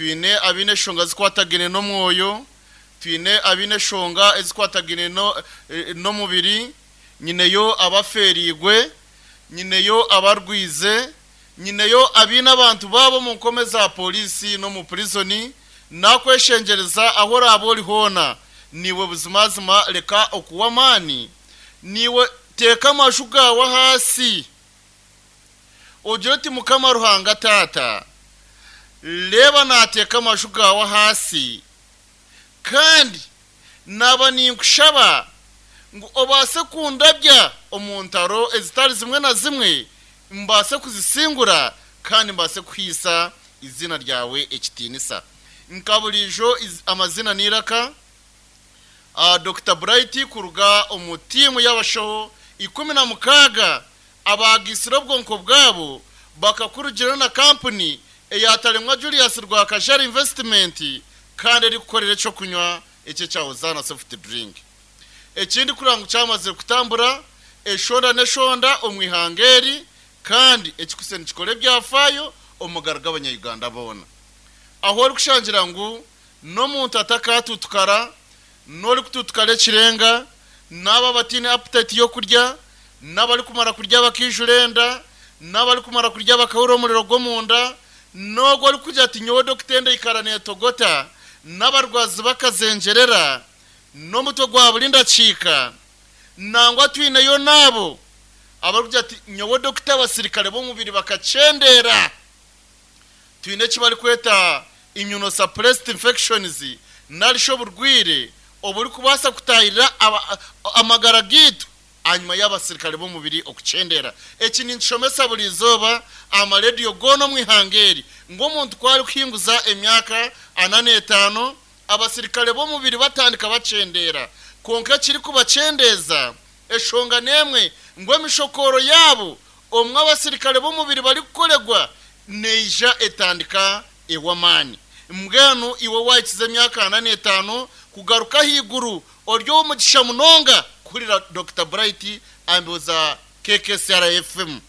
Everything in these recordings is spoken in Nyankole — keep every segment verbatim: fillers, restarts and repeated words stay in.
Twine abaine eshonga zikwatagine n'omwoyo, twine abaine eshonga ezikwatagine n'omubiri, nyineyo abafeerigwe, nyineyo abarwize, nyineyo abaine abantu baabo omu nkome za polisi n'omu purizoni. Nakweshengereza aho oraaba ori hoona, niiwe buzimazima reka okuwa amaani, niiwe teeka amaju gaawe ahansi ogire oti Mukama Ruhanga Taata, reeba naateeka amaju gaawe ahansi, kandi naaba ninkushaba ngu obaase kundabya omu ntaro ezitari zimwe na zimwe, mbaase kuzisingura kandi mbaase kuhaisa izina ryawe ekitiinisa. Nka buriijo amazina n'eiraka, Dokita Bright kuruga omu tiimu y'abashaho ikumi na mukaaga abaagisire obwonko bwabo bakakurugira na kampuni eyataremwa Julius Rwakajara Investment, kandi erikukorera ekyokunywa ekyo ekya Hosanna soft drink. Ekindi kureba ngu kyamazire kutambura eshonda n'eshonda omu ihanga eri, kandi ekikuse nikikora ebyafaayo omu magara g'abanyayuganda boona. Aho orikushangira ngu n'omuntu atakatutukara, n'orikututukara ekirenga, n'abo abataine appetite y'okurya, n'abarikumara kurya bakaijura enda, n'abarikumara kurya bakahurira omuriro gw'omunda, n'ogwo orikugira ati nyowe dokita enda eikara neetogota, n'abarwazi bakazengyerera, n'omutwe gwa buri ndakiika, nangwa twineyo n'abo abarikugira ati nyowe dokita abasirikare b'omubiri bakakyendera. Twine eki barikweta immunosuppressed infections, narishi oburwire oburikubaasa kutahirira amagara gaitu hanyuma y'abasirikare b'omubiri okukyendera. Eki ninkishomesa buri izooba amarediyo goona omu ihanga eri, ngu omuntu ku arikuhinguza emyaka ana n'etaano, abasirikare b'omubiri batandika bakyendera. Kwonka ekirikubakyendeeza eshonga n'emwe, ngu emishokoro yaabo omwe abasirikare b'omubiri barikukoregwa neija etandika ew'amaani. Mbwenu iwe wahikiza emyaka ana n'etaano kugaruka ahaiguru, ori ow'omugisha munonga kuhurira Dokita Bright ambuuza K K C R F M.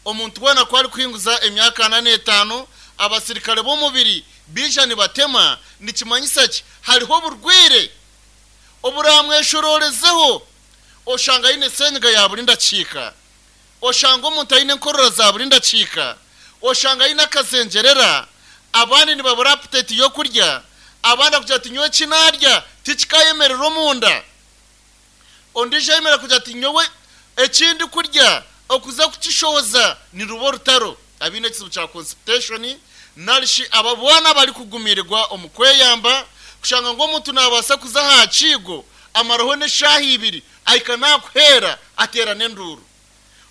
Omuntu weena ku arikuhinguza emyaka ana n'etaano, abasirikare b'omubiri baija nibatema, nikimanyisa ki? Hariho oburwire oburamweshororezeho, oshanga aine senyiga ya buri ndakiika, oshanga omuntu aine enkorora za buri ndakiika, oshanga aine akazengyerera, abandi nibabura appetite y'okurya, abandi akugira ati nyowe eki naarya tikikayemerera omunda, ondiijo ayemerera kugira ati nyowe eki ndikurya okuza kukishohoza niruba orutaro, abaine ekizibu kya constipation, narishi aba boona abarikugumiirwa omu kweyamba, kushanga ngu omuntu naabaasa kuza aha kiigo amaraho n'eshaaha ibiri ahika naakuheera ateera n'enduuru.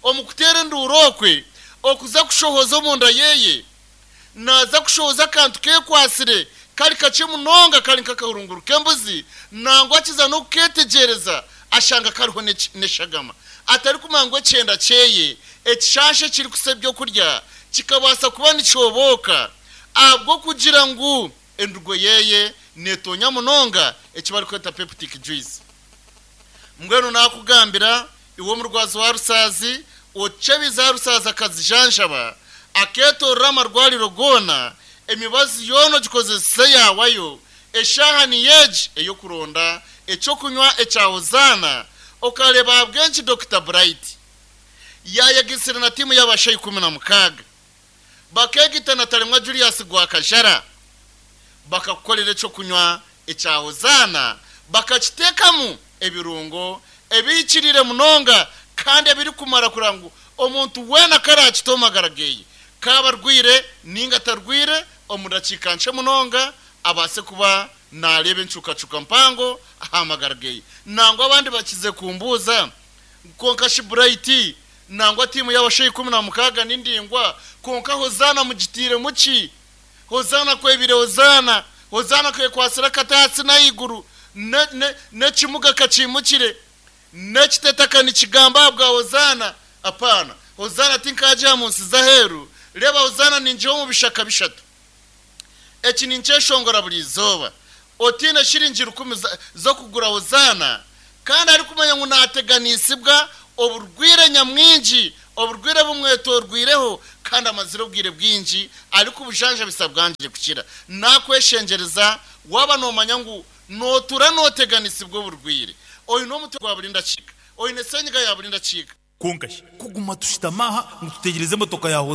Omu kuteera enduuru okwe okuza kushohoza omunda yeeye, naaza kushohoza akantu keekwasire kari kakye munonga kari nk'akahurunguru k'embuzi, nangwa akiza n'okukeetegyereza ashanga kariho n'eshagama. Atarikumanya ngu ekyenda kyeye ekishasha ekirikusa ebyokurya kikabaasa kuba nikyobooka ahabw'okugira ngu endugo yeeye neetonya munonga eki barikweta peptic juice. Mbwenu naakugambira iwe omurwazi wa rusaazi, ocebize aha rusaazi akazijanjaba, akeetorora amarwariro goona, emibazi yoona ogikozese yaawayo, eshaaha niyo egi ey'okuronda ekyokunywa ekya Hosanna, okareeba ahabw'enki Dokita Bright yaayegisire na tiimu y'abashaho ikumi na mukaaga, bakeegita na Taremwa Julius Rwakajara, bakakukorera ekyokunywa ekya Hosanna, bakakiteekamu ebirungo ebihikiriire munonga kandi ebirikumara kureba ngu omuntu weena karakita omu magara geeye, kaaba arwire ninga atarwire, omu dakiika nkye munonga abaase kuba naareeba encukacuka mpango aha magara geeye. Nangwa abandi bakize kumbuuza, kwonka shi Bright, nangwa tiimu y'abashaho ikumi na mukaaga ni ndingwa, kwonka Hosanna mugitiiremu ki? Hosanna kwebire Hosanna, Hosanna kwekwasire akati ahansi n'ahaiguru, n'ekimuga kakimukire, n'ekitetaka nikigamba aha bwa Hosanna. Apaana, Hosanna tinkagiha mu nsi z'aheeru, reeba Hosanna ningiha omu bishaka bishatu. Eki ninkyeshongora buri izooba. Otiine shiringi rukumi z'okugura Hosanna, kandi arikumanya ngu naateganisibwa oburwire nyamwingi, oburwire bumwetorwireho, Kandi amazire obwire bwingi ariko obujanjabisa bwangire kukira. Nakweshengereza, waba nomanya ngu notura noteganisibwa oburwire, oine omutwe gwa buri ndakiika, oine senyiga ya buri ndakiika. Konka shi kuguma tushutami aha ngu tutegyereze emotoka ya